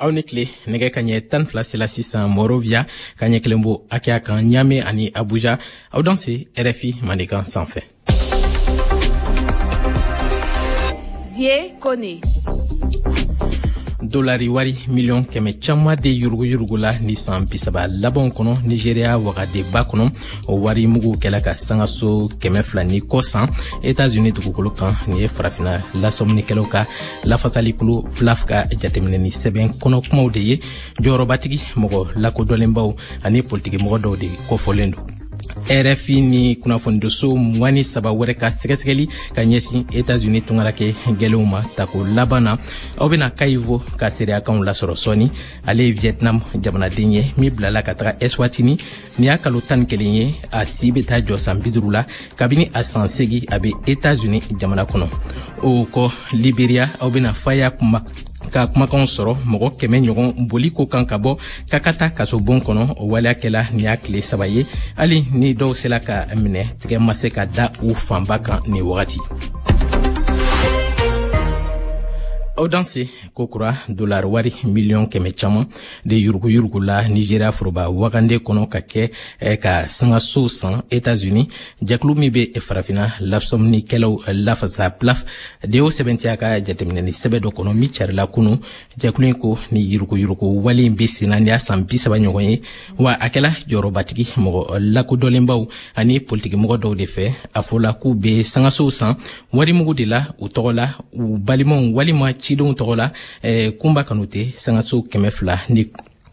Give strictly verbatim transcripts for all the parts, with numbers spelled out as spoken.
Aw ni tile. Nɛgɛ ka ɲɛ tan fila sela sisan Monrovia, ka ɲɛ kelen bo hakɛya kan Ɲame ani Abuja. Aw danse R F I Mandenkan sanfɛ. Zie Kone. Dolari wari miliyɔn kɛmɛ caman de yuruguyurugu la ni san bisaba labanw kɔnɔ Nigeriya wagadeba kɔnɔ. O wari mugu kɛla ka sangaso kɛmɛ fila ni kɔ san Etats-Unis dugukolo kan. Nin ye Farafina lasɔminikɛlaw ka lafasalikulu PLAF ka jateminɛni sɛbɛn kɔnɔ kumaw de ye. Jɔyɔrɔbatigi mɔgɔ lakodɔnlenbaw ani politikimɔgɔ dɔw de kofɔlen don. R F I ni kunnafonidiso mugan ni saba wɛrɛ ka sɛgɛsɛgɛli ka ɲɛsin Etats-Unis tungarakɛ gɛlɛnw ma tako laban na. Aw bena Kaivo ka seereyakanw lasɔrɔ sɔɔni. Ale ye Vietnam jamanaden ye min bilala ka taga Eswatini ni y'a kalo tan ni kelen ye. A si bɛ taa jɔ san bi duuru la. Kabini a san segi, a bɛ Etats-Unis jamana kɔnɔ. O kɔ, Liberia, aw bena Faya kuma ka kumakanw sɔrɔ mɔgɔ kɛmɛ ɲɔgɔn boli ko kan ka bɔ Kakata kasobon kɔnɔ. O waleya kɛla nin y'a tile saba ye. Hali ni dɔw sela ka minɛ, tigɛ ma se ka da u fanba kan nin wagati. Aw danse kokura. Dolari wari miliyɔn kɛmɛ caman de yuruguyurugu la Nigeriya foroba wagande kɔnɔ ka kɛ eh, ka sangasow san Etats-Unis. Jɛkulu min bɛ Farafina lasɔminikɛlaw lafasa, PLAF de y'o sɛbɛntiya ka jateminɛni sɛbɛ dɔ kɔnɔ min carila kunu. Jɛkulu in ko ni yuruguyurugu wale in bɛ senna ni y'a san bi saba ɲɔgɔn ye, wa a kɛla jɔyɔrɔbatigi mɔgɔ lakodɔnlenbaw ani politikimɔgɔ dɔw de fɛ. A fɔla k'u bɛ sangasow san warimugu de la u tɔgɔ la, u balimaw walima cidenw tɔgɔ la. eh, kunba Kanute, sangaso kɛmɛ fila ni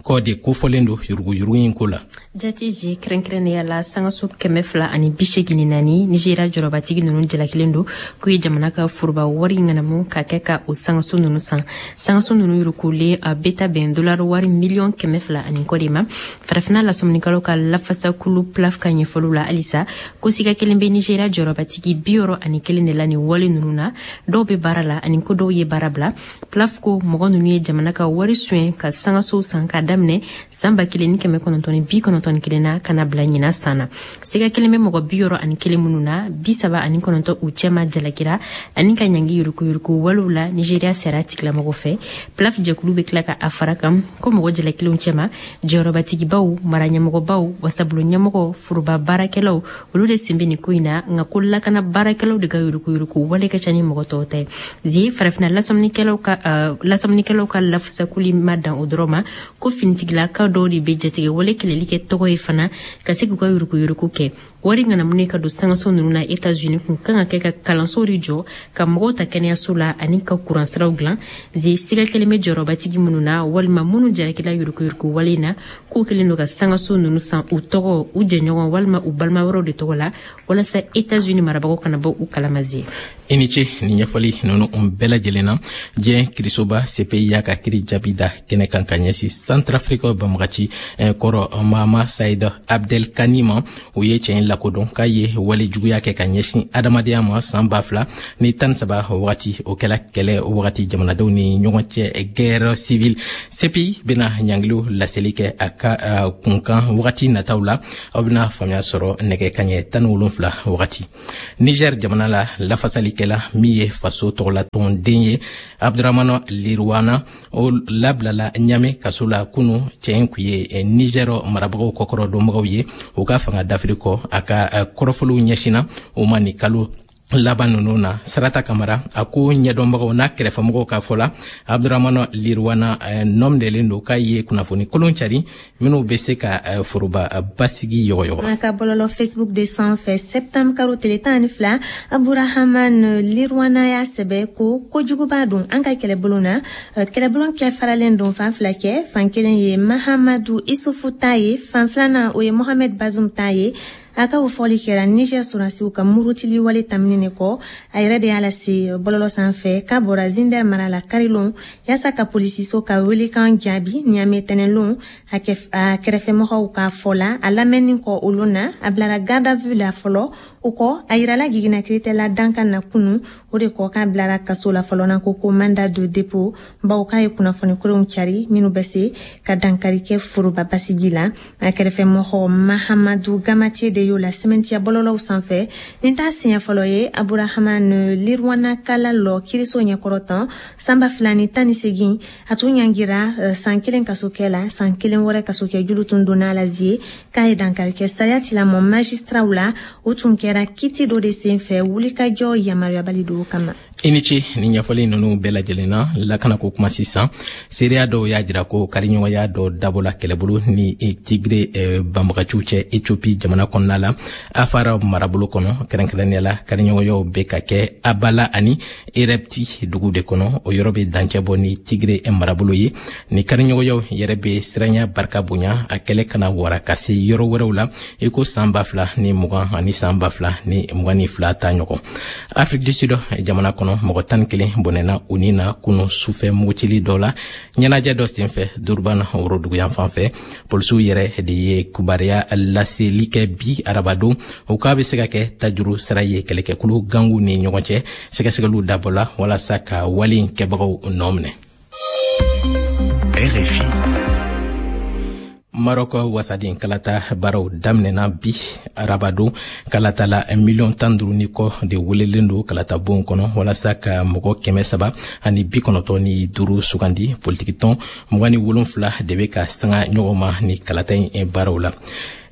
kɔ de kofɔlen don yuruguyurugu in ko la. Jatiji, kɛrɛnkɛrɛnnenya la sangaso kɛmɛ fila ani bi segin ni naani, Nizeriya jɔrɔbatigi ninnu jalakilen don k'u ye jamana ka foroba wari ŋanamu ka kɛ ka o sangaso ninnu san. Sangaso ninnu yurukulen, a bɛ ta bɛn dolari wari miliyɔn kɛmɛ fila ani kɔ de ma. Farafinna lasɔminikɛlaw ka lafasakulu PLAF ka ɲɛfɔliw la halisa, ko siga kelen bɛ Nizeriya jɔrɔbatigi bi wɔɔrɔ ani kelen de la nin wale ninnu na. Dɔw bɛ baara la ani ko dɔw ye baara bila. PLAF ko mɔgɔ ninnu ye jamana ka wari suɲɛ ka sangasow san ka daminɛ san ba kelen ni kɛmɛ kɔnɔntɔn ni bi kɔnɔntɔn ni kelen na ka na bila ɲina san na. Siga kelen bɛ mɔgɔ bi wɔɔrɔ ani kelen minnu na, bi saba ani kɔnɔntɔn u cɛma jalakira ani ka ɲangi yurukuyuruku walew la Nigeriya sariya tigilamɔgɔ fɛ. PLAF jɛkulu bɛ tila ka a fara kan ko mɔgɔ jalakilenw cɛma, jɔyɔrɔbatigibaw, mara ɲɛmɔgɔbaw, wasabulon ɲɛmɔgɔ, foroba baarakɛlaw, olu de sen bɛ nin ko in na. Nka ko lakana baarakɛlaw de ka yurukuyuruku wale ka ca ni mɔgɔ tɔw ta ye. Zi, Farafinna lasɔminikɛlaw ka uh, lasɔminikɛlaw ka lafasakuli ma dan o dɔrɔn ma, ko finitigilakaw dɔw de bɛ jatigɛ wale kɛlɛli kɛ tɔgɔ ye fana ka se k'u ka yurukuyuruku kɛ. Wari ŋanamuni ka don sangaso ninnu na Etats-Unis kun kan ka kɛ ka kalansow de jɔ, ka mɔgɔw ta kɛnɛyaso la ani ka kuransiraw dilan. Zi, siga kelen bɛ jɔyɔrɔbatigi minnu na walima minnu jalakila yurukuyuruku wale na, k'u kelen don ka sangaso ninnu san u tɔgɔ, u jɛɲɔgɔn walima u balima wɛrɛw de tɔgɔ la, walasa Etats-Unis marabagaw kana bɔ u kalama. Zie. I ni ce ni ɲɛfɔli ninnu bɛɛ lajɛlen na. Diɲɛ kirisoba C P I y'a ka kiri jaabi da kɛnɛ kan ka ɲɛsin Santrafrika banbagaci kɔrɔ Mahama Said Abdel Kani ma. O ye cɛ in lakodɔn k'a ye wale juguya kɛ ka ɲɛsin adamadenya ma san ba fila ni tan saba wagati. O kɛla kɛlɛ wagati jamanadenw ni ɲɔgɔn cɛ, guerre civile. C P I bena ɲangiliw laseli kɛ a ka kunkan wagati nataw la. Aw bena faamuya sɔrɔ nɛgɛ kaɲɛ tan ni wolonfila wagati. Niger jamana la, lafasalikɛla min ye faso tɔgɔlatɔnden ye, Abdramana Lirwana, o labilala Ɲame kaso la kunu. Cɛ in kun ye Niger marabagaw kɔkɔrɔ dɔnbagaw ye u ka fanga dafiri kɔ. A ka kɔrɔfɔliw ɲɛsinna o ma nin kalo laban ninnu na. Sarata Kamara, a ko ɲɛdɔnbagaw n'a kɛrɛfɛmɔgɔw ka fɔ la, Abdramana Lirwana nɔminɛlen don k'a ye kunnafoni kolon cari minw bɛ se ka foroba basigi yɔgɔyɔgɔ. An ka bɔlɔlɔ Facebook de sanfɛ, septembre kalo tile tan ni fila, Aburahaman Lirwana y'a sɛbɛ ko kojuguba don an ka kɛlɛbolo na. Kɛlɛbolo kɛ faralen don fan fila kɛ. Fan kelen ye Mahamadu Isufu ta ye, fan filanan o ye Mohamed Bazum ta ye. A ka o fɔli kɛra Niger sɔrɔdasiw ka murutili wale tamini kɔ. A yɛrɛ de y'a lase bɔlɔlɔ sanfɛ k'a bɔra Zinder mara la karilon yaasa ka polisiso ka welekan jaabi Ɲame tɛnɛlon. A kɛrɛfɛmɔgɔw ka fɔ la, a lamɛnni kɔ olu na, a bilara garde à vue la fɔlɔ. O kɔ, a yirala jiginna kiritɛla dankan na kunu. O de kɔ, k'a bilara kaso la fɔlɔ na ko ko mandat de dépôt, bawo k'a ye kunnafoni koronw cari minnu bɛ se ka dankari kɛ foroba basigi la. A kɛrɛfɛmɔgɔ Mahamadu Gamate de y'o la sɛmɛntiya bɔlɔlɔw sanfɛ. Nin t'a siɲɛ fɔlɔ ye Aburahaman Lirwana kala lɔ kiriso ɲɛkɔrɔ tan. San ba fila ni tan ni segin, a tun ɲangira san kelen kasokɛ la, san kelen wɛrɛ kasokɛ julu tun donna la zie k'a ye dankari kɛ sariya tilamɔ magistraw la. O tun kɛra kiti dɔ de sen fɛ wulikajɔ yamaruyabali dɔw kama. I ni ce ni ɲɛfɔli ninnu bɛɛ lajɛlen na. Lakanako kuma sisan. Seereya dɔw y'a jira ko kariɲɔgɔnya dɔ dabɔla kɛlɛbolo ni Tigre banbagaciw cɛ Ethiopie jamana kɔnɔna la, Afara marabolo kɔnɔ. Kɛrɛnkɛrɛnnenya la, kariɲɔgɔnyaw bɛ ka kɛ Abala ani Erepti dugu de kɔnɔ. O yɔrɔ bɛ dancɛ bɔ ni Tigre marabolo ye. Ni kariɲɔgɔnyaw yɛrɛ bɛ siranya barika bonya a kɛlɛ kana wara ka se yɔrɔ wɛrɛw la, i ko san ba fila ni mugan ani san ba fila ni mugan ni fila ta ɲɔgɔn. Afrique du Sud jamana kɔnɔ, mɔgɔ tan kelen bɔnɛna u ni na kunu sufɛ mugutili dɔ la ɲɛnajɛ dɔ senfɛ Durban woroduguyan fan fɛ. Polisiw yɛrɛ de ye kibaruya laseli kɛ bi arabadon o k'a bɛ se ka kɛ tajuru sara ye kɛlɛkɛkulu gangu ni ɲɔgɔn cɛ. Sɛgɛsɛgɛliw dabɔla walasa ka wale in kɛbagaw nɔ minɛ. R F I. Marɔkɔ wasaden kalata baaraw daminɛna bi arabadon. Kalatala miliyɔn tan duuru ni kɔ de welelen don kalatabon kɔnɔ walasa ka mɔgɔ kɛmɛ saba ani bi kɔnɔntɔn ni duuru sugandi. Politikitɔn mugan ni wolonfila de bɛ ka sanga ɲɔgɔn ma ni kalata in baaraw la.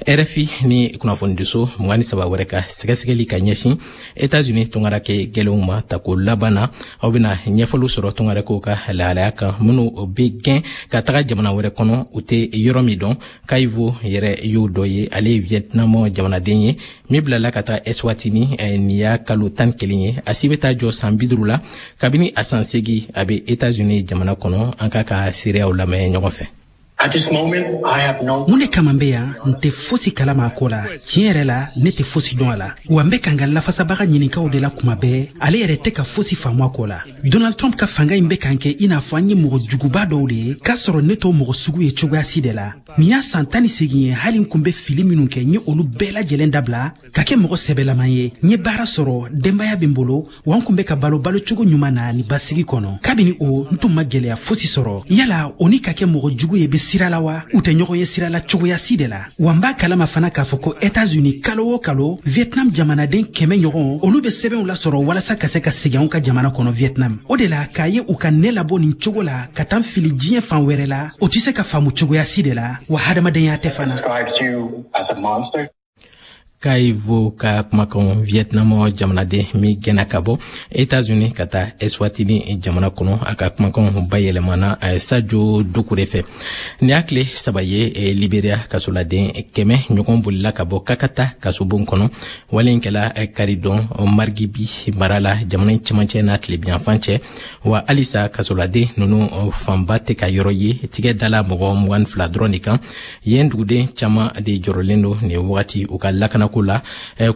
R F I ni kunnafonidiso mugan ni saba wɛrɛ ka sɛgɛsɛgɛli ka ɲɛsin Etats-Unis tungarakɛ gɛlɛnw ma tako laban na. Aw bɛna ɲɛfɔliw sɔrɔ tungarakɛw ka lahalaya kan minnu bɛ gɛn ka taga jamana wɛrɛ kɔnɔ, u tɛ yɔrɔ min dɔn. Khai Vo yɛrɛ y'o dɔ ye. Ale ye Vietnam jamanaden ye min bilala ka taga Eswatini nin y'a kalo tan kelen ye. A si bɛ taa jɔ san bi duuru la. Kabini a san seegin, a bɛ Etats-Unis jamana kɔnɔ. An k'a ka seereyaw lamɛn ɲɔgɔn fɛ. Mun de kama n bɛ yan? N tɛ fosi kalama a ko la. Tiɲɛ yɛrɛ la, ne tɛ fosi dɔn a la. Wa n bɛ ka n ka lafasabaga ɲininkaw de la kuma bɛɛ, ale yɛrɛ tɛ ka fosi faamu a ko la. Donald Trump ka fanga in bɛ k'an kɛ i n'a fɔ an ye mɔgɔ juguba dɔw de ye, k'a sɔrɔ ne t'o mɔgɔ sugu ye cogoya si de la. Nin y'a san tan ni segin ye. Hali n kun bɛ fili minnu kɛ, n ye olu bɛɛ lajɛlen dabila ka kɛ mɔgɔ sɛbɛlaman ye. N ye baara sɔrɔ, denbaya bɛ n bolo, wa n kun bɛ ka balo balocogo ɲuman na ni basigi kɔnɔ. Kabini o, n tun ma gɛlɛya fosi sɔrɔ. Yala o ni ka kɛ mɔgɔ jugu ye bɛ sira la wa? U tɛ ɲɔgɔn ye sira la cogoya si de la. Wa n b'a kalama fana k'a fɔ ko Etats-Unis, kalo o kalo, Vietnam jamanaden kɛmɛ ɲɔgɔn, olu bɛ sɛbɛnw lasɔrɔ walasa ka se ka segin anw ka jamana kɔnɔ Vietnam. O de la k'a ye u ka ne labɔ nin cogo la ka taa n fili diɲɛ fan wɛrɛ la, o tɛ se ka faamu cogoya si de la, wa hadamadenya tɛ fana. Khai Vo ka kumakan, Vietnam jamanaden min gɛnna ka bɔ Etats-Unis ka taa Eswatini jamana kɔnɔ. A ka kumakanw bayɛlɛmana Sajo Dukure fɛ. Nin y'a tile saba ye Liberia kasoladen kɛmɛ ɲɔgɔn bolila ka bɔ Kakata kasobon kɔnɔ. Wale in kɛla karidon Margibi mara la, jamana in cɛmancɛ n'a tilebiyanfan cɛ. Wa halisa kasoladen ninnu fanba tɛ ka yɔrɔ ye, tigɛ dala mɔgɔ mugan fila dɔrɔn de kan. Yen duguden caman de jɔrɔlen don nin wagati u ka lakana ko la.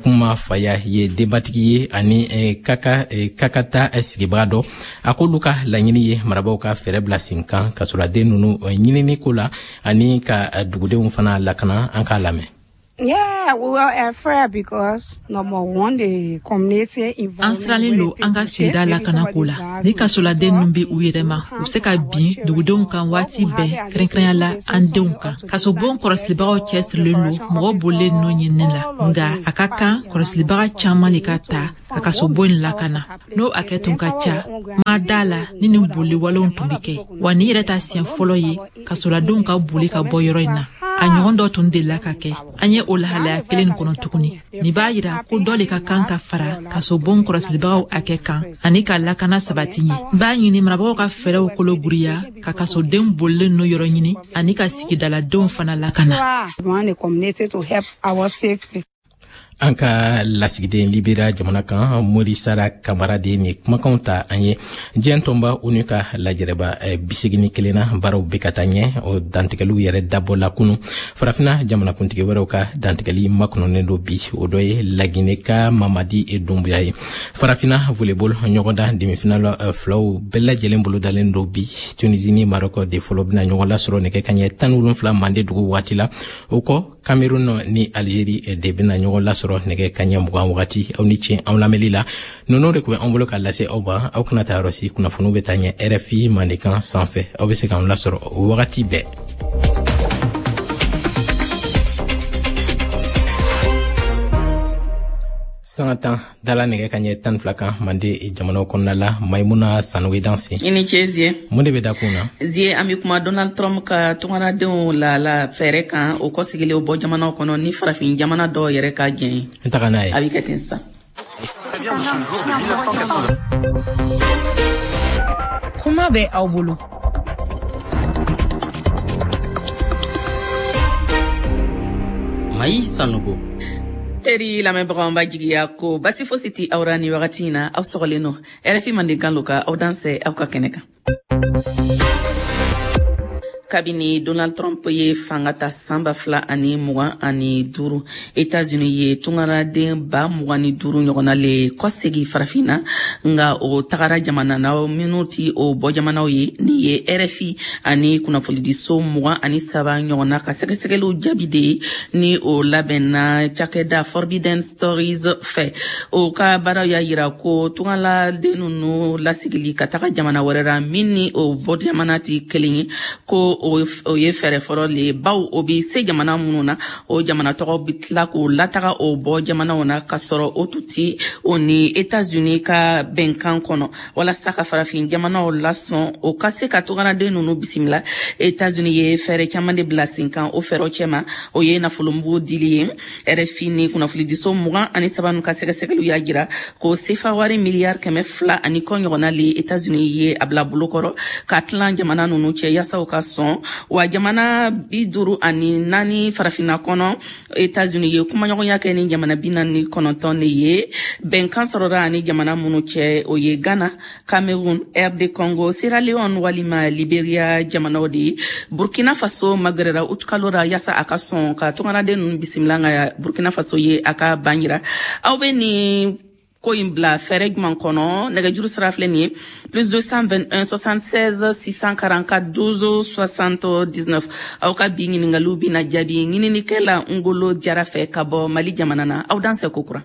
Kuma Faya ye denbatigi ye ani kaka Kakata sigibaga dɔ. A k'olu ka laɲini ye marabaw ka fɛɛrɛ bila sen kan kasoladen ninnu ɲinini ko la ani ka dugudenw fana lakana. An k'a lamɛn. Yeah, we were afraid because number one, the community. An sirannen don an ka sigida lakanako la. Ni kasoladen ninnu bɛ u yɛrɛ ma, u bɛ se ka bin dugudenw kan waati bɛɛ, kɛrɛnkɛrɛnya la an denw kan. Kasobon kɔlɔsilibagaw cɛsirilen don mɔgɔ bolilen ninnu ɲinini la, nka a ka kan kɔlɔsilibaga caman de ka ta ka kasobon in lakana. N'o hakɛ tun ka ca, ma da la ni nin boli walew tun bɛ kɛ. Wa nin yɛrɛ ta siɲɛ fɔlɔ ye kasoladenw ka boli ka bɔ yɔrɔ in na. A ɲɔgɔn dɔ tun delila ka kɛ. An ye o lahalaya kelen nin kɔnɔ tuguni. Nin b'a yira ko dɔ de ka kan ka fara kasobon kɔlɔsilibagaw hakɛ kan ani ka lakana sabati ɲɛ. N b'a ɲini marabagaw ka fɛɛrɛw kolo giriya ka kasoden bolilen ninnu yɔrɔ ɲini ani ka sigidaladenw fana lakana. An ka lasigiden Liberia jamana kan, Morisara Kamara de ni kumakanw ta an ye. Diɲɛ tɔnba ONU ka lajɛrɛba bisegin kelenna baaraw bɛ ka taa ɲɛ. O dantigɛliw yɛrɛ dabɔ la kunu. Farafina jamanakuntigi wɛrɛw ka dantigɛli makɔnɔnen don bi. O dɔ ye Laginɛ ka Mamadi Dunbuya ye. Farafina volleyball ɲɔgɔndan demi-finale filaw bɛɛ lajɛlen bolo dalen don bi. Tunisie ni Maroc de fɔlɔ bɛna ɲɔgɔn lasɔrɔ nɛgɛ kaɲɛ tan ni wolonfila mande dugu waati la. O kɔ Cameroun ni Algérie de bɛna ɲɔgɔn lasɔrɔ nɛgɛ kanɲɛ mugan wagati. Aw ni ce anw lamɛnli la. Ninnu de tun bɛ an bolo ka lase aw ma. Aw kana taa yɔrɔ si, kunnafoniw bɛ taa ɲɛ R F I Mandenkan sanfɛ. Aw bɛ se k'an lasɔrɔ wagati bɛɛ. Sanga tan dala nɛgɛ ka ɲɛ tan fila kan Mande jamanaw kɔnɔna la. Maimuna Sanogo, danse. I ni ce, Zie. Mun de bɛ da kun na? Zie, an bɛ kuma Donald Trump ka tungaradenw la la fɛɛrɛ kan, o kɔsigilen o bɔ jamanaw kɔnɔ ni farafin jamana dɔw yɛrɛ ka jɛn ye. N taga n'a ye. A bɛ kɛ ten sisan. Kuma bɛ aw bolo. Mayi Sanogo. Teri lamɛnbagaw, b'a jigiya ko basi fosi ti aw ra ni wagati in na. Aw sɔgɔlen no R F I Mandenkan lo ka aw dansɛ aw ka kɛnɛ kan. Kabini Donald Trump ye fanga ta san ba fila ani mugan ani duuru, Etats-Unis ye tungaraden ba mugan ni duuru ɲɔgɔnna le kɔsegi Farafinna, nga o tagara jamana na minnu ti o bɔ jamanaw ye. Ni ye R F I ani kunnafonidiso mugan ani saba ɲɔgɔnna ka sɛgɛsɛgɛliw jaabi de ye, ni o labɛnna cakɛda Forbidden Stories fɛ. O ka baaraw y'a yira ko tungaladen nunu lasigili ka taga jamana wɛrɛ ra min ni o bɔ jamana ti kelen ye, ko o ye fɛɛrɛ fɔlɔ le ye, baw o bi se jamana minnu na, o jamana tɔgɔ bi tila k'o lataga o bɔ jamanaw na, k'a sɔrɔ o tun ti o ni Etats-Unis ka bɛnkan kɔnɔ. Walasa ka farafin jamanaw lasɔn o ka se ka tungaraden nunu bisimila, Etats-Unis ye fɛɛrɛ caman de bila sen kan. O fɛɛrɛw cɛma, o ye nafolomugu dili ye. R F I ni kunnafonidiso mugan ani saba nu ka sɛgɛsɛgɛliw y'a jira ko sefa wari miliyari kɛmɛ fila ani kɔ ɲɔgɔnna le Etats-Unis ye a bila bolokɔrɔ ka tilan jamana nunu cɛ yaasa u ka sɔn. Wa jamana bi duuru ani naani Farafinna kɔnɔ, Etats-Unis ye kumaɲɔgɔnya kɛ ni jamana bi naani ni kɔnɔntɔn de ye. Bɛnkan sɔrɔra ani jamana minnu cɛ, o ye Ghana, Cameroun, R D Congo, Sierra Leone walima Liberia jamanaw de ye. Burkina Faso magɛrɛra utukalo ra yaasa a ka sɔn ka tungaraden ninnu bisimila, nka Burkina Faso ye a ka ban yira. Aw bɛ nin ko in bila fɛɛrɛ jumɛn kɔnɔ? Nɛgɛjuru sira filɛ nin ye: plus deux cent vingt et un soixante-seize six cent quarante-quatre douze soixante-dix-neuf. Aw ka bi ɲiningaliw bɛna jaabi ɲininikɛla Ngolo Jara fɛ ka bɔ Mali jamana na. Aw dansɛ kokura.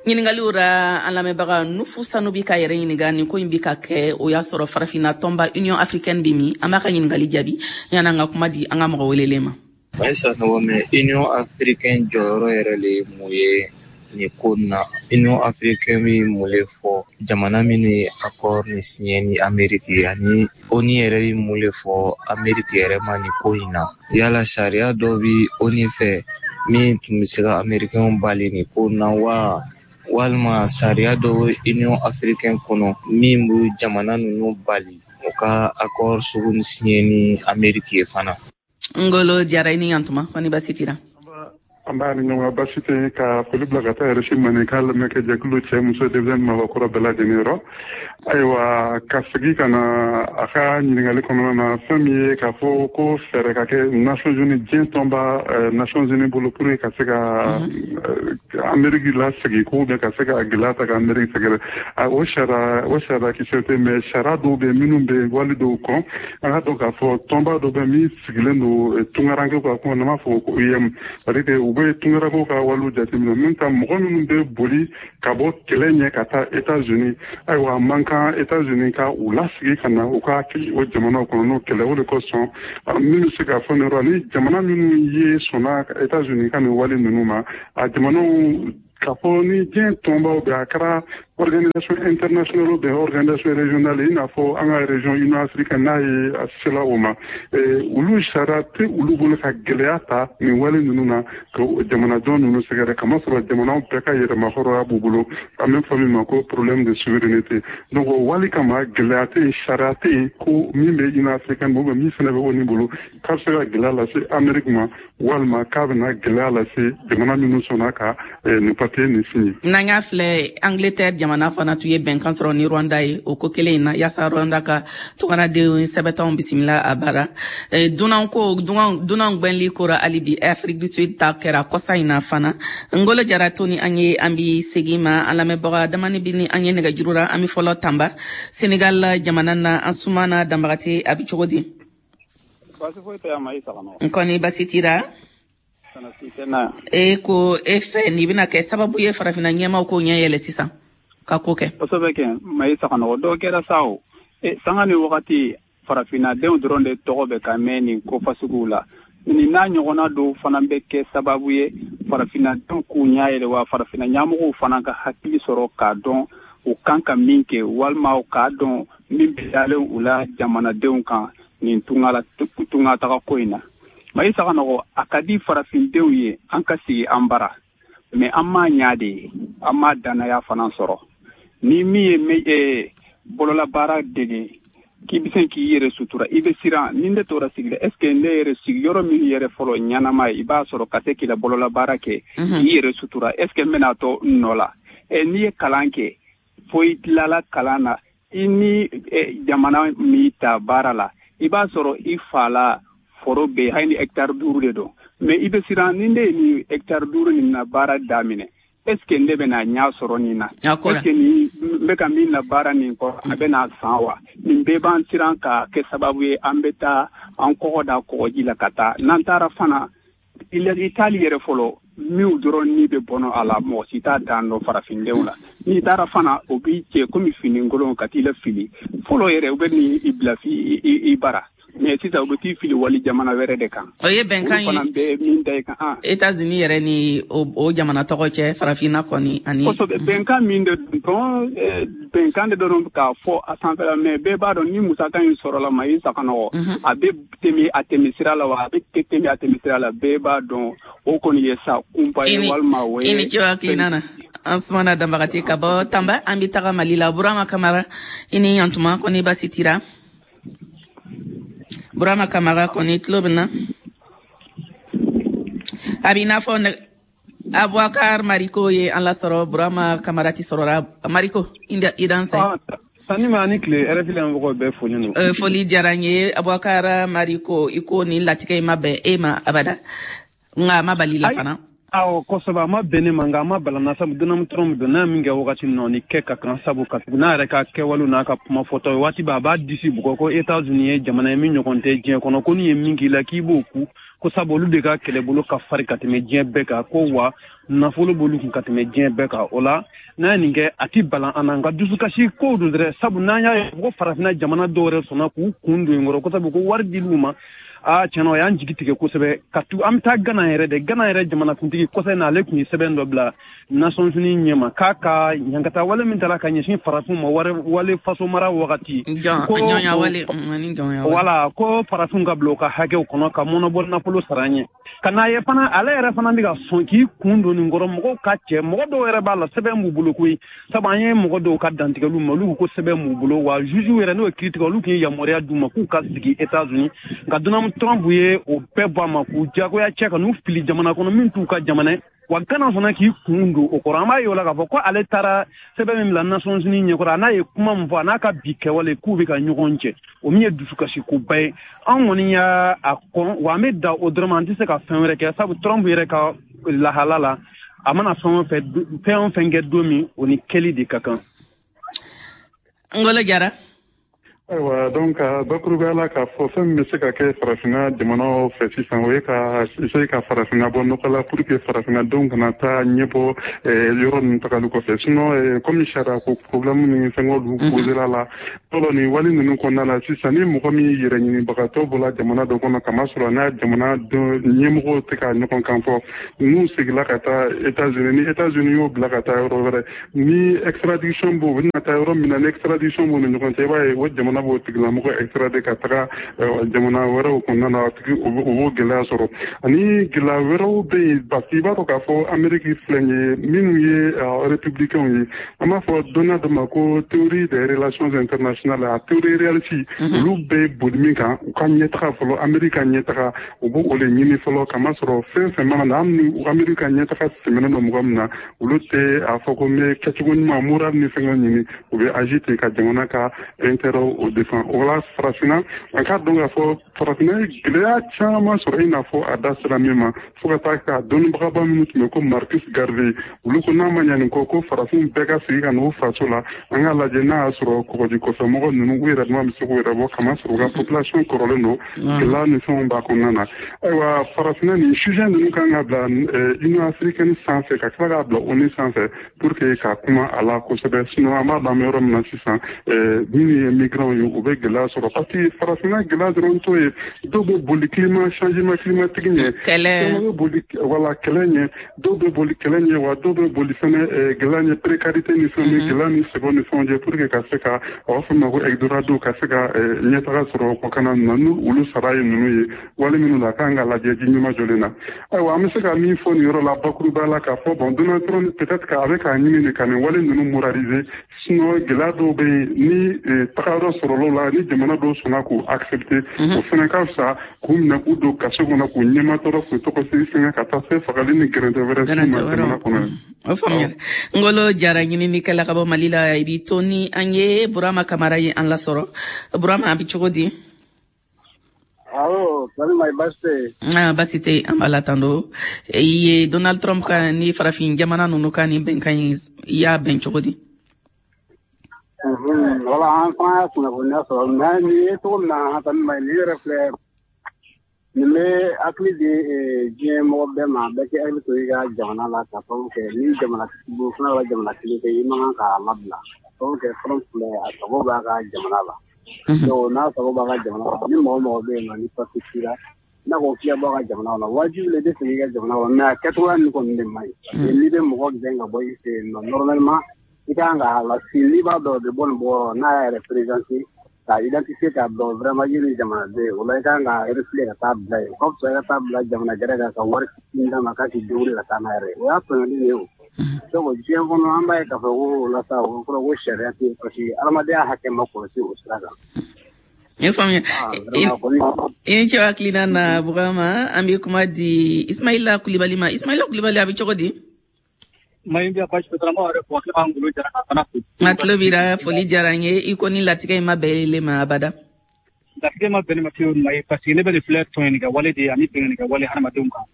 Ɲiningaliw ra, an lamɛnbaga Nufu Sanu bi ka yɛrɛ ɲininga nin ko in bi ka kɛ, o y'a sɔrɔ Farafinna tɔnba Union africaine bi min? An b'a ka ɲiningali jaabi yan'an ka kuma di an ka mɔgɔ welelen ma. Ayisa nɔgɔ mɛ, Union africaine jɔyɔrɔ yɛrɛ le ye mun ye nin ko in na? Union africaine bɛ mun le fɔ jamana minnu ye accord ni signé ni Amérique ye, ani ONU yɛrɛ bɛ mun le fɔ Amérique yɛrɛ ma nin ko in na? Yala sariya dɔ bɛ ONU fɛ min tun bɛ se ka Américains bali nin ko in na wa, walima sariya dɔ bɛ Union africaine kɔnɔ min bɛ jamana ninnu bali u ka accord sugu ni signé ni Amérique ye fana? Ngolo Jara, i ni yantuma. Kɔni basi tira? An b'a ni ɲɔgɔn basi tɛ. Ka foli bila ka taa R F I Maninka lamɛnkɛ jɛkulu, cɛ, muso, denmisɛnnin, mabakɔrɔ bɛɛ lajɛlen yɔrɔ. Ayiwa, ka segin ka na a ka ɲininkali kɔnɔna na, fɛn min ye k'a fɔ ko fɛɛrɛ ka kɛ Nations Unies, diɲɛ tɔnba Nations Unies bolo pour que ka se ka Amérique lasegin ko bɛ ka se ka gɛlɛya ta ka Amérique sɛgɛrɛ, o sariya o sariya kisɛ tɛ, mais sariya dɔw bɛ minnu bɛ wali dɔw kɔn. An ka dɔn k'a fɔ tɔnba dɔ bɛ min sigilen don tunkarankew ka kuma, n'an b'a fɔ ko O I M, c'est à dire que u bɛ tunkarankew ka waliw jateminɛ min ta, mɔgɔ minnu bɛ boli ka bɔ kɛlɛ ɲɛ ka taa États-Unis. Ayiwa, a man kan États-Unis ka u lasigi ka na u ka o jamanaw kɔnɔ n'o kɛlɛ. O de kosɔn, min bɛ se ka fɔ nin yɔrɔ ni jamana minnu ye sɔnna États-Unis ka nin wale ninnu ma, a jamanaw k'a fɔ ni diɲɛ tɔnbaw bɛ, a kɛra organisation internationale bɛ, organisation régionale, i n'a fɔ an ka région Union africaine n'a ye a sela o ma, olu sariya tɛ olu bolo ka gɛlɛya ta nin wale ninnu na ka jamanajɔ ninnu sɛgɛrɛ, kamasɔrɔ jamanaw bɛɛ ka yɛrɛmahɔrɔnya b'u bolo, an bɛ fɔ min ma ko problème de souveraineté. Donc o wale kama, gɛlɛya tɛ yen, sariya tɛ yen ko min bɛ Union africaine bolo, min fana bɛ ONU bolo, k'a bɛ se ka gɛlɛya lase Amérique ma, walima k'a bɛna gɛlɛya lase jamana minnu sɔnna ka nin papier nin signé. N'an y'a filɛ, Angleterre jamana fana tun ye bɛnkan sɔrɔ ni Rwanda ye o ko kelen in na, yaasa Rwanda ka tungaradenw sɛbɛntanw bisimila a bara. Dunan ko dunan gwɛnli kora hali bi, Afrique du Sud ta kɛra kɔsa in na fana. Ngolo Jara, to ni an ye, an bi segin ma. An lamɛnbaga damani bi ni an ye nɛgɛjuru ra. An bi fɔlɔ Tamba, Senegal jamana na. An Sumana Danbagate, a bi cogo di? Baasi foyi tɛ yan, Mayi Sakano. N kɔni basi t'i la? E ko e fɛ nin bɛna kɛ sababu ye farafinna ɲɛmaw ko ɲɛ yɛlɛ sisan ka ko kɛ. Kosɛbɛ kɛ, Mayi Sakano, dɔw kɛra sa o. E sanga ni wagati farafinnadenw dɔrɔn de tɔgɔ bɛ ka mɛn nin ko fasuguw la. Nin n'a ɲɔgɔnna dɔw fana bɛ kɛ sababu ye farafinnadenw k'u ɲɛ yɛlɛ, wa farafinna ɲɛmɔgɔw fana ka hakili sɔrɔ k'a dɔn u kan ka min kɛ, walima u k'a dɔn min bɛ dalen u la jamanadenw kan nin tunga taga ko in na. Mayi Sakanogo, a ka di farafindenw ye an ka sigi an bara, mais an m'a ɲa de ye, an m'a danaya fana sɔrɔ. Ni min ye bololabaara dege k'i bɛ se k'i yɛrɛ sutura, i bɛ siran. Ni ne tora sigi la, est ce que ne yɛrɛ sigiyɔrɔ min yɛrɛ fɔlɔ ɲɛnama ye, i b'a sɔrɔ ka se k'i la bololabaara kɛ k'i yɛrɛ sutura, est ce que n bɛna to n nɔ la? N'i ye kalan kɛ fo i tilala kalan na, i ni jamana min ta baara la, i b'a sɔrɔ i fa la foro bɛ hali ni hectare duuru de don, mais i bɛ siran, ni ne ye nin hectare duuru nin na baara daminɛ, est ce que ne bɛna ɲɛ sɔrɔ nin na? Est ce que nin n bɛ ka min na baara nin kɔ, a bɛna san wa? Nin bɛɛ b'an siran ka kɛ sababu ye an bɛ taa an kɔgɔ da kɔgɔji la ka taa. N'an taara fana, i taali yɛrɛ fɔlɔ minw dɔrɔn ni bɛ bɔnɔ a la, mɔgɔ si t'a dan dɔn farafindenw la. N'i taara fana, o b'i cɛ komi finikolon ka t'i la fili fɔlɔ yɛrɛ, u bɛ n'i bila i bara. Mais sisan u bɛ t'i fili wali jamana wɛrɛ de kan. O ye bɛnkan ye. Olu fana bɛ min da i kan. États-Unis yɛrɛ ni o jamana tɔgɔ cɛ farafinna kɔni ani. Kosɛbɛ, bɛnkan min de don, bɛnkan de dɔrɔn k'a fɔ a sanfɛla, mais bɛɛ b'a dɔn ni musaka in sɔrɔla Mayi Sakanogo, a bɛ tɛmɛ a tɛmɛ sira la wa a bɛ tɛmɛ a tɛmɛ sira la, bɛɛ b'a dɔn o kɔni ye sa kunpa ye walima o ye. I ni ce hakilina na. Ansumana Danbagati ka bɔ Tanba, an bɛ taga Mali la. Burama Kamara, i ni yantuma, kɔni basi t'i la? Burama Kamara kɔni tulo bɛ na? A b'i n'a fɔ Abubakar Mariko ye an lasɔrɔ. Burama Kamara ti sɔrɔla. Mariko, i dansɛ. Sani ma ni tile, R F I lamɛnbagaw bɛɛ folen don. Foli diyara n ye. Abubakar Mariko, i ko nin latigɛ in ma bɛn e ma abada, nka a ma bali la fana. Awɔ, kosɛbɛ, a ma bɛn ne ma, nka a ma bala na, sabu Donald Trump don, n'a ye min kɛ wagati min na, o ni kɛ ka kan, sabu ka tugu n'a yɛrɛ ka kɛwalew n'a ka kuma fɔtaw ye, waati bɛɛ a b'a disi bugɔ ko États-Unis ye jamana ye min ɲɔgɔn tɛ diɲɛ kɔnɔ, ko n'u ye min k'i la k'i b'o ku, ko sabu olu de ka kɛlɛbolo ka farin ka tɛmɛ diɲɛ bɛɛ kan, ko wa nafolo b'olu kun ka tɛmɛ diɲɛ bɛɛ kan. O la n'a ye nin kɛ, a ti balan an na, nka dusukasi kow don dɛrɛ, sabu n'an y'a ye ko farafinna jamana dɔw yɛrɛ sɔnna k'u kun don in kɔrɔ, ko sabu ko wari dil'u ma. Aa, tiɲɛna, o y'an jigi tigɛ kosɛbɛ. Ka tu an bɛ taa Gana yɛrɛ de, Gana yɛrɛ jamanakuntigi kɔsɛ na, ale tun ye sɛbɛn dɔ bila Nations Unies ɲɛma k'a ka ɲangata wale min tala ka ɲɛsin farafinw ma wale faso mara wagati, wala ko farafinw ka bila u ka hakɛw kɔnɔ ka mɔnɔbɔ nafolo sara an ɲɛ. Ka n'a ye fana, ale yɛrɛ fana bɛ ka sɔn k'i kun don nin kɔrɔ, mɔgɔw ka cɛ, mɔgɔ dɔw yɛrɛ b'a la sɛbɛn b'u bolo koyi, sabu an ye mɔgɔ dɔw ka dantigɛliw ma, olu ko sɛbɛn b'u bolo, wa juge yɛrɛ n'o ye kiiritigɛ, olu tun ye yamaruya d'u ma k'u ka sigi États-Unis, nka Donald Trump ye o bɛɛ bɔ a ma k'u jagoya cɛ ka n'u fili jamana kɔnɔ min t'u ka jamana ye. Wa Gana fana k'i kun don o kɔrɔ, an b'a ye o la k'a fɔ ko ale taara sɛbɛn min bila Nations Unies ɲɛkɔrɔ, a n'a ye kuma min fɔ, a n'a ka bi kɛwale k'u bɛ ka ɲɔgɔn cɛ, o min ye dusukasikoba ye. An kɔni y'a a kɔn, wa an bɛ da o dɔrɔn ma, an tɛ se ka fɛn wɛrɛ kɛ, sabu Trump yɛrɛ ka lahala la, a mana fɛn o fɛn fɛn o fɛn kɛ don min, o ni kɛli de ka kan. Ngolo Jara. Ayiwa, donc bakurubaya la k'a fɔ fɛn min bɛ se ka kɛ farafinna jamanaw fɛ sisan, o ye ka essayer ka farafinna bɔ nɔgɔ la pour que farafinna denw kana taa ɲɛbɔ yɔrɔ ninnu tagali kɔfɛ. Sinon comme sariya ko problème ni fɛngɛw posera la fɔlɔ nin wale ninnu kɔnɔna la sisan, ni mɔgɔ min yɛrɛ ɲinibagatɔ bɔra jamana dɔ kɔnɔ, kamasɔrɔ n'a jamana ɲɛmɔgɔw tɛ ka ɲɔgɔn kan fɔ, n'u seginna ka taa États-Unis, ni États-Unis y'o bila ka taa yɔrɔ wɛrɛ, ni extradition b'o, u bɛna taa yɔrɔ min na, ni extradition b'u ni ɲɔgɔn cɛ, i b'a ye o jamana b'o tigilamɔgɔ extradé ka taga jamana wɛrɛw kɔnɔna na, tigi o b'o gɛlɛya sɔrɔ. Ani gɛlɛya wɛrɛw bɛ yen, parce que i b'a dɔn k'a fɔ Amérique filɛ nin ye, minnu ye républicains ye, an b'a fɔ dɔnniya dɔ ma ko théorie des relations internationales, a théorie réaliste, olu bɛ boli min kan, u ka ɲɛtaga fɔlɔ, Amérique ka ɲɛtaga, u b'o o de ɲini fɔlɔ, kamasɔrɔ fɛn fɛn mana na, hali ni Amérique ka ɲɛtaga tɛmɛnen don mɔgɔ min na, olu tɛ a fɔ ko n bɛ kɛcogo ɲuman moral ni fɛngɛw ɲini, u bɛ agir ten ka jamana ka intérêt o défend. O la farafinna, an k'a dɔn k'a fɔ farafinna ye gɛlɛya caman sɔrɔ, i n'a fɔ a da sera min ma, fo ka taa ka dɔnnibagaba minnu tun bɛ ko Marcus Garvey, olu ko n'a ma ɲa nin kɔ, ko farafin bɛɛ ka segin ka n'u faso la. An k'a lajɛ n'a y'a sɔrɔ kɔgɔji kɔfɛmɔgɔ ninnu, u yɛrɛ dama bɛ se k'u yɛrɛ bɔ, kama sɔrɔ u ka population kɔrɔlen don, gɛlɛya ni fɛnw b'a kɔnɔna na. Ayiwa, farafinna nin sujet ninnu kan ka bila Union africaine sanfɛ, ka tila k'a bila ONU sanfɛ, pour que ka kuma a la kosɛbɛ. Sinon an b'a dɔn, an bɛ yɔrɔ min na sisan, minnu ye migrants ye, u bɛ gɛlɛya sɔrɔ, parce que farafinna gɛlɛya dɔrɔn t'o ye. Dɔw bɛ boli climat changement climatique ɲɛ, kɛlɛ bɛ boli, wala kɛlɛ ɲɛ, dɔw bɛ boli kɛlɛ ɲɛ, wa dɔw bɛ boli fɛnɛ gɛlɛya ɲɛ, précarité ni fɛnw, gɛlɛya ni sɛgɛn ni fɛnw ɲɛ, pour que ka se ka, a b'a fɔ ma ko Eldorado, ka se ka ɲɛtaga sɔrɔ kɔkanna ninnu na. N'u olu sara ye ninnu ye wale minnu la, a kan ka lajɛ ji ɲuman jɔlen na. Ayiwa, an bɛ se ka min fɔ nin yɔrɔ la bakuruba la, k'a fɔ bon, Donald Trump peut-être qu'a bɛ k'a ɲini de ka nin wale ninnu moraliser. Sinon gɛlɛya dɔw bɛ yen ni tagayɔrɔ sɔrɔla la, ni jamana dɔw sɔnna k'u accepter, o fana ka fisa k'u minɛ k'u don kaso kɔnɔ, k'u ɲɛmatɔrɔ, k'u tɔgɔ fɛngɛ, ka taa se fagali ni gɛrɛntɛ wɛrɛ s'u ma jamana kɔnɔ. O faamuyara. Ngolo Jara, ɲininikɛla ka bɔ Mali la, i b'i to ni an ye. Burama Kamara ye an lasɔrɔ. Burama, a bɛ cogo di? Awɔ, Salima, baasi tɛ yen? Ah, baasi tɛ yen, an b'a la tando. I ye Donald Trump ka ni farafin jamana ninnu ka nin bɛnkan in, i y'a bɛn cogo di? Wala, an fana y'a kunnafoniya sɔrɔ, mais nin ye cogo min na, Salima, nin yɛrɛ filɛ nin bɛ hakili di diɲɛ mɔgɔ bɛɛ ma, bɛɛ k'i hakili to i ka jamana la, ka sababu kɛ ni jamana fana ka jamana kelen kɛ, i man kan k'a labila, ka sababu kɛ Trump filɛ, a sago b'a ka jamana la. Donc n'a sago b'a ka jamana la, ni mɔgɔ mɔgɔ bɛ yen nɔ ni papiye t'i la, n'a ko k'i ka bɔ a ka jamana kɔnɔ, wajibi la i bɛ segin i ka jamana kɔnɔ, mais a kɛcogoya nin kɔni de man ɲi. N'i bɛ mɔgɔ gɛn ka bɔ i fɛ yen nɔ, normalement i kan k'a lasi, n'i b'a dɔn o bɛ bɔ nin bɔyɔrɔ, n'a y'a yɛrɛ présenter k'a identifier, k'a dɔn vraiment i ye nin jamanaden ye, o la i kan ka refiler ka taa bila yen. O ka fisa i ka taa bila jamana gɛrɛ kan ka wari fitinin d'a ma k'a k'i débrouiller ka taa n'a yɛrɛ ye, o y'a tɔɲɔli de ye. O donc diɲɛ kɔnɔ, an b'a ye k'a fɔ ko o la sa, o kɔrɔ ko sariya tɛ yen, parce que adamadenya hakɛ ma kɔlɔsi o sira kan. I faamuya. I ni ce hakilina na, Burama. An bɛ kuma di Ismaila Kulibali ma. Ismaila Kulibali, a bɛ cogo di? A tulo b'i la. Foli diyara n ye. I ko ni latigɛ in ma bɛn ele ma abada. Latigɛ ma bɛn ne ma fiyewu ma ye, parce que ne bɛ nin filɛ, tɔɲɔni kɛ wale de ye ani bɛnkanni kɛ wale hadamadenw kan.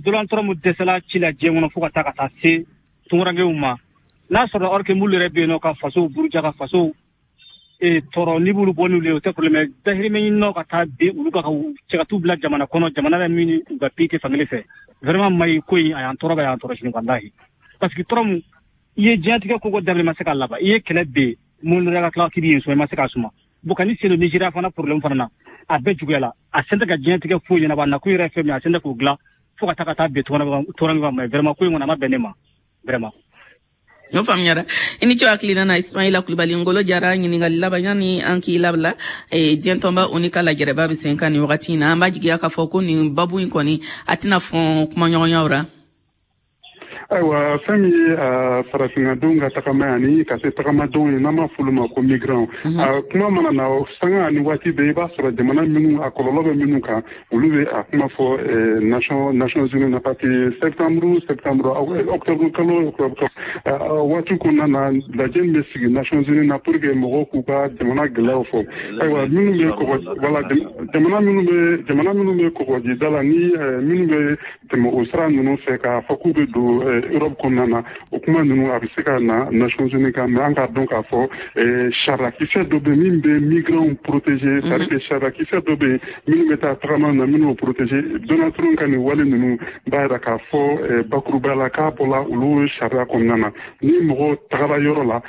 Donald Trump dɛsɛla ci la diɲɛ kɔnɔ fo ka taa ka taa se tunkarankew ma. N'a sɔrɔ or que m'olu yɛrɛ bɛ yen nɔ ka fasow buruja, ka fasow tɔɔrɔ, n'i b'olu bɔ n'olu ye, o tɛ problème. Dahirimɛ ɲininaw ka taa bin olu kan, ka cɛ ka t'u bila jamana kɔnɔ, jamana la min u ka pays tɛ fankelen fɛ. Vraiment mayi ko in, a y'an tɔɔrɔ, a y'an tɔɔrɔ sini, walahi. Parce que Trump, i ye diɲɛtigɛ ko ko dabila, i ma se k'a laban. I ye kɛlɛ bɛ mun ka tila k'i b'i sɔn, i ma se k'a suma. Bon, ka ni sen don Nigéria fana problème fana na, a bɛɛ juguyala. A sen tɛ ka diɲɛtigɛ foyi ɲɛnabɔ, a nakun yɛrɛ fɛn min, a sen tɛ k'o dilan, fo ka taa ka taa bin tɔɔrɔ ma. Vraiment ko in kɔni, a ma bɛn ne ma vraiment. O faamuyara. I ni ce hakilina na, Ismaila Kulibali. Ngolo Jara, ɲininkali laban yanni an k'i labila. Diɲɛ tɔnba ONU ka lajɛrɛba bɛ sen kan nin wagati in na. An b'a jigiya k'a fɔ ko nin babu in kɔni, a tɛna fɔn kumaɲɔgɔnyaw ra. Ayiwa, fɛn min ye farafinnadenw ka tagama ani ka se tagamadenw ye, n'an b'a f'olu ma ko migrants, a kuma mana na sanga ani waati bɛɛ, i b'a sɔrɔ jamana minnu a kɔlɔlɔ bɛ minnu kan, olu bɛ a kuma fɔ Nations Nations Unies na, parce que septembre septembre, octobre kalo octobre kalo waati kɔnɔna na, lajɛ min bɛ sigi Nations Unies na pour que mɔgɔw k'u ka jamana gɛlɛyaw fɔ. Ayiwa, minnu bɛ kɔgɔ, wala jamana minnu bɛ jamana minnu bɛ kɔgɔjida la, ni minnu bɛ tɛmɛ o sira ninnu fɛ k'a fɔ k'u bɛ don Europe kɔnɔna na, o kuma ninnu a bɛ se ka na Nations Unies kan. Mais an k'a dɔn k'a fɔ sariyakisɛ dɔ bɛ min bɛ migrants protéger, c'est à dire que sariyakisɛ dɔ bɛ yen minnu bɛ taa tagama na, minnu b'o protéger. Donald Trump ka nin wale ninnu b'a jira k'a fɔ bakuruba la k'a bɔla olu sariya kɔnɔna na. Ni mɔgɔ tagara yɔrɔ la,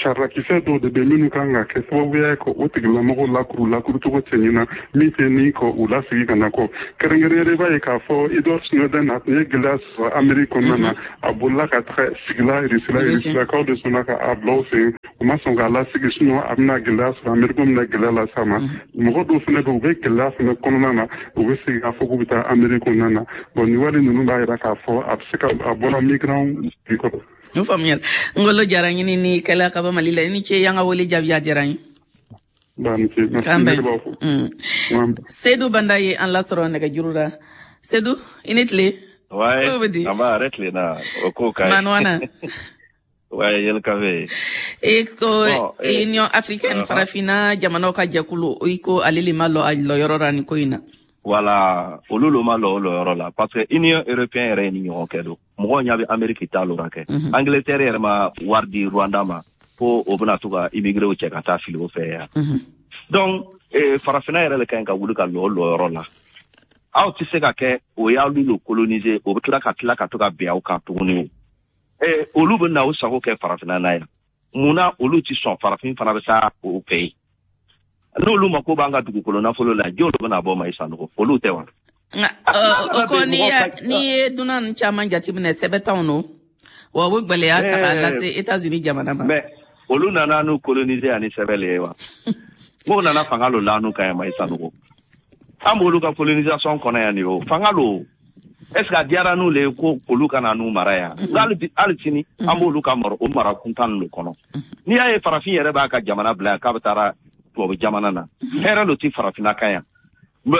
sariyakisɛ dɔw de bɛ minnu kan ka kɛ sababuya ye ka o tigilamɔgɔw lakuru lakurucogo cɛɲina min tɛ ni ka u lasigi ka na kɔ. Kɛrɛnkɛrɛnnenya, i b'a ye k'a fɔ Edward Snowden, a tun ye gɛlɛya sɔrɔ Amérique kɔnɔna na, a bolila ka taga sigila Russie, Rusilakaw de sɔnna ka a bila u fɛ, u ma sɔn k'a lasigi, sinon a bɛna gɛlɛya sɔrɔ, Amérique bɛna gɛlɛya las'a ma. Mɔgɔ dɔw fana bɛ, u bɛ gɛlɛya fana kɔnɔna na, u bɛ segin k'a fɔ k'u bɛ taa Amérique kɔnɔna na. Bon, nin wale ninnu b'a jira k'a fɔ a bɛ se ka a bɔra migrants kɔrɔ. O faamuyara. Ngolo Jara, ɲininikɛla ka bɔ Mali la, i ni ce y'an ka wele jaabi, a diyara n ye. K'an bɛn. Seydou Banda ye an lasɔrɔ nɛgɛjuru la. Seydou, i ni tile. Ouais, an b'a yɛrɛ tilenna o ko ka ɲi. Manuana. Ouais, Yelkabe. E ko Union africaine farafina jamanaw ka jɛkulu i ko ale le ma lɔ a lɔyɔrɔ la nin ko in na. Voilà, olu lo ma lɔ o lɔyɔrɔ la parce que Union européenne yɛrɛ ye ni ɲɔgɔn kɛ don. Mɔgɔw ɲɛ bɛ Amérique ta lora kɛ. Angleterre yɛrɛ ma wari di Rwanda ma ko o bɛna to ka immigré cɛ ka taa fili o fɛ yan. Donc farafina yɛrɛ le ka ɲi ka wuli ka lɔ o lɔyɔrɔ la. Aw tɛ se ka kɛ o y'alu lo coloniser o bɛ tila ka tila ka to ka bin aw kan tuguni o. Eh, olu bɛ na o sago kɛ farafinna na yan. Munna olu ti sɔn farafin fana bɛ taa o fɛ yen? N'olu mako b'an ka dugukolo nafolo la, jɔn olu bɛna bɔ ma i Sanogo? Olu tɛ wa? Nka o ko n'i ye dunan ninnu caman jateminɛ sɛbɛn t'anw nɔ, wa o bɛ gɛlɛya ta k'a lase États-Unis jamana ma. Mais olu nana n'u coloniser ani sɛbɛn le ye wa? N'o nana fanga lo la n'u kan yan ma i Sanogo. An b'olu ka colonisation kɔnɔ yan nin ye o, fanga lo. Est-ce que a diyara n'u le ye ko olu ka na n'u mara yan? Hali hali sini an b'olu ka mara o mara kuntan ninnu kɔnɔ. N'i y'a ye farafin yɛrɛ b'a ka jamana bila yan k'a bɛ taara tubabu jamana na, hɛrɛ lo ti farafinna kan yan.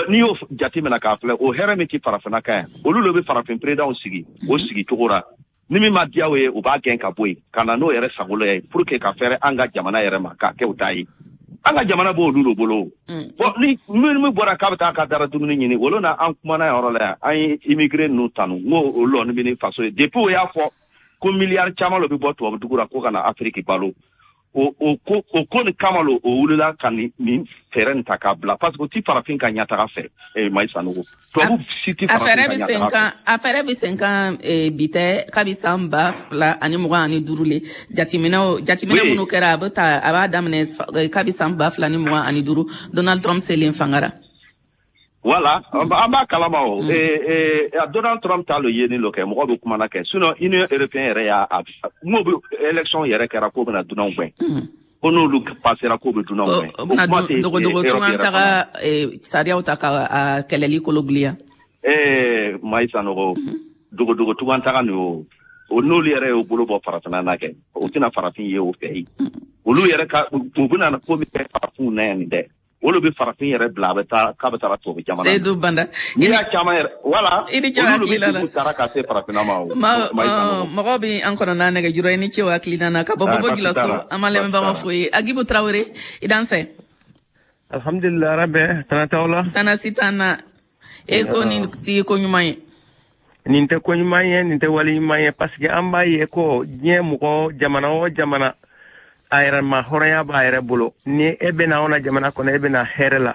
N'i y'o jateminɛ k'a filɛ, o hɛrɛ min ti farafinna kan yan, olu le bɛ farafin peredanw sigi o sigi cogo la. Ni min ma diya o ye, u b'a gɛn ka bɔ yen ka na n'o yɛrɛ sago ye pour que ka fɛrɛ an ka jamana yɛrɛ ma k'a kɛ o ta ye. An ka jamana b'olu de bolo. Bon, ni min bɔra k'a bɛ taa ka dara dumuni ɲini, olu na an kumana yɔrɔ la yan, an ye immigré ninnu tanu, n ko olu lɔni bɛ ni faso ye. Depuis o y'a fɔ ko miliyari caman lo bɛ bɔ tubabu dugu la ko ka na Afiriki balo, o o ko o ko nin kama lo o wulila ka nin nin fɛɛrɛ nin ta k'a bila parce que o ti farafin ka ɲɛtaga fɛ. Eh, Mayi Sanogo, tubabu si ti farafin ka ɲɛtaga fɛ. A fɛɛrɛ bɛ sen kan bi tɛ, kabi san ba fila ani mugan ani duuru le jateminɛw jateminɛ minnu kɛra, a bɛ ta a b'a daminɛ kabi san ba fila ni mugan ani duuru Donald Trump selen fanga la. Voilà, an b'a kalama o. Donald Trump t'a lo yeni lo kɛ, mɔgɔ bɛ kuma na kɛ. Sinon Union européenne yɛrɛ y'a n'o bɛ élection yɛrɛ kɛra k'o bɛna dunanw gɛn. Ko n'olu passera k'o bɛ dunanw gɛn. O bɛna dogodogo tunga taga sariyaw ta ka kɛlɛli kolo giliya. Ee Mayi Sanogo, dogodogo tunga taga nin o. O n'olu yɛrɛ y'o bolo bɔ farafinna na kɛ, o tɛna farafin ye o fɛ yen. Olu yɛrɛ ka u bɛna ko min kɛ farafinw na yan nin dɛ. Olu bɛ farafin yɛrɛ bila a bɛ taa k'a bɛ taa tubabu jamana. Seydou Banda. N'i y'a caman yɛrɛ voilà. I ni ce hakilina la. Olu bɛ taara ka se farafinna ma o. Mɔgɔw bɛ an kɔnɔ n'a nɛgɛjuru ye, ni ce o hakilina na ka bɔ Bobo Gilaso, an b'an lamɛnbagaw fo ye. Agibu Tarawele, i dansɛ. Alhamdulilah rabbi, tana t'aw la. Tana si t'an na. E ko nin ti ko ɲuman ye. Nin tɛ ko ɲuman ye, nin tɛ wale ɲuman ye parce que an b'a ye ko diɲɛ mɔgɔ jamana o jamana a yɛrɛ ma hɔrɔnya b'a yɛrɛ bolo. Ni e bɛna anw na jamana kɔnɔ, e bɛna hɛrɛ la.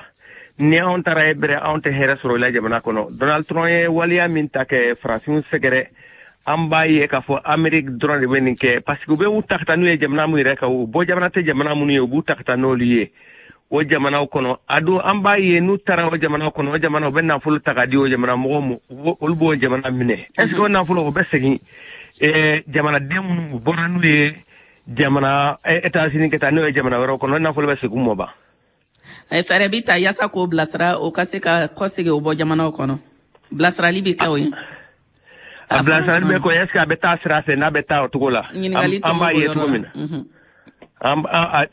Ni anw taara e bɛrɛ, anw tɛ hɛrɛ sɔrɔ i la jamana kɔnɔ. Donald Trump ye waleya min ta kɛ farafinw sɛgɛrɛ, an b'a ye k'a fɔ Amérique dɔrɔn de bɛ nin kɛ parce que u bɛ u ta ka taa n'u ye jamana min yɛrɛ kan, u bɔ jamana tɛ jamana minnu ye, u b'u ta ka taa n'olu ye o jamanaw kɔnɔ. A don an b'a ye n'u taara o jamana kɔnɔ, o jamana u bɛ nafolo ta k'a di o jamana mɔgɔw ma, olu b'o jamana minɛ. Est ce que o nafolo o bɛ segin jamanaden minnu bɔra n'u ye jamana États-Unis ka taa n'o ye jamana wɛrɛw kɔnɔ, nafolo bɛ segin u ma ba? Fɛɛrɛ bi ta yaasa k'o bilasira, o ka se ka kɔsegin o bɔ jamanaw kɔnɔ. Bilasirali bɛ kɛ o ye. A bilasirali bɛ kɛ o ye, est ce que a bɛ taa sira fɛ n'a bɛ taa o cogo la? Ɲininkali an b'a ye cogo min na.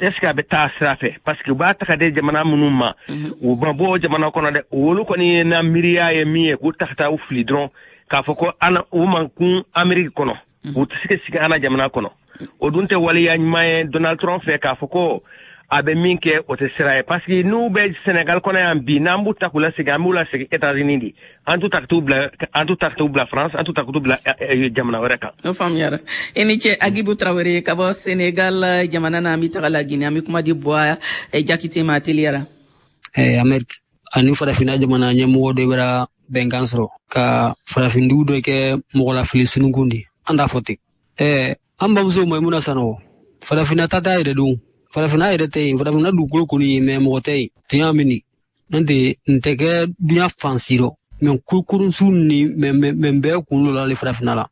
Est ce que a bɛ taa sira fɛ? Parce que u b'a ta ka di jamana minnu ma, u ma bɔ o jamana kɔnɔ dɛ. Olu kɔni ye na miiriya ye min ye, k'u ta ka taa u fili dɔrɔn k'a fɔ ko an u man kun Amérique kɔnɔ, u tɛ se ka sigi an na jamana kɔnɔ. O dun tɛ waleya ɲuman ye Donald Trump fɛ k'a fɔ ko a bɛ min kɛ o tɛ sira ye parce que n'u bɛ Sénégal kɔnɔ yan bi, n'an b'u ta k'u lasegin, an b'u lasegin États-Unis de, an t'u ta ka t'u bila, an t'u ta ka t'u bila France, an t'u ta ka t'u bila jamana wɛrɛ kan. O faamuyara. I ni ce Agibu Tarawele ka bɔ Sénégal jamana na. An bɛ taga la Guinée, an bɛ kuma di Buwa Jakite ma teliyara. Eh, Amérique ani farafinna jamana ɲɛmɔgɔ dɔ bɛra bɛnkan sɔrɔ ka farafindugu dɔ kɛ mɔgɔlafili sununkun di. An t'a fɔ ten. Eh, an bamuso Maimuna Sanogo, farafinna ta t'a yɛrɛ dun. Farafinna yɛrɛ tɛ yen, farafinna dugukolo kɔni ye, mɛ mɔgɔ tɛ yen. Tunya min ni n'o tɛ nin tɛ kɛ dunya fan si rɔ, mɛ kurukurunsu ni mɛ mɛ bɛɛ kun dɔ la ale farafinna la.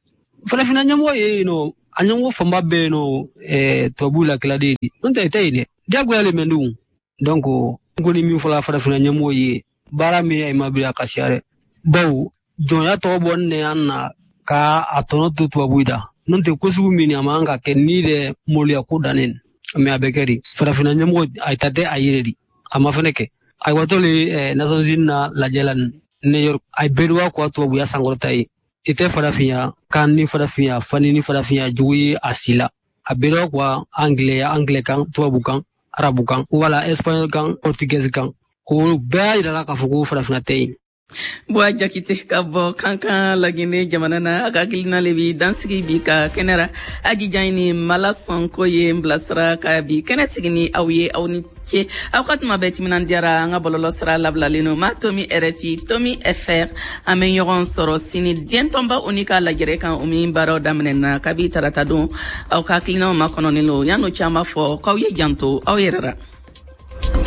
Farafinna ɲɛmɔgɔ ye yen nɔ, a ɲɛmɔgɔ fanba bɛɛ yen nɔ, ɛɛ tubabuw la kiladen de. N'o tɛ tɛ yen dɛ, diyagoya le mɛ dun. Donc n kɔni min fɔla farafinna ɲɛmɔgɔ ye, baara min ye ma bi a ka siya dɛ. Bawo jɔnya tɔgɔ bɔ ne an na ka a tɔnɔ to tubabuw da. N'o tɛ ko sugu min a man ka kɛ ni dɛ maloya ko dannen. Mais a bɛ kɛ de farafinna ɲɛmɔgɔ a ta tɛ a yɛrɛ de, a ma fɛnɛ kɛ. A watɔ le Nations Unies na lajɛ la New York, a ye bɛɛ ko tubabuya sankɔrɔta ye. I tɛ farafinya kan ni farafinya fani ni farafinya jugu ye a si la. A bɛɛ dɔ quoi, anglais, anglais kan, tubabu kan, arabu kan, wala espagnol kan, portugais kan. O bɛɛ y'a yira la k'a fɔ ko farafinna tɛ yen. Buwa Jakite ka bɔ Kankan, Lagine jamana na, a ka hakilina le bi dansigi bi ka kɛnɛ ra. Ajijan ni Mala Sɔnko ye n bilasira ka bi kɛnɛ sigi ni aw ye. Aw ni ce, aw ka tuma bɛɛ timinan diyara. An ka bɔlɔlɔ sira labilalen no ma tomi R F I tomi F R. An bɛ ɲɔgɔn sɔrɔ sini diɲɛ tɔnba ONU ka lajɛrɛ kan, o min baaraw daminɛna kabi tarata don. Aw ka hakilinaw makɔnɔnen lo. Yan'o caman fɔ k'aw ye janto aw yɛrɛ ra.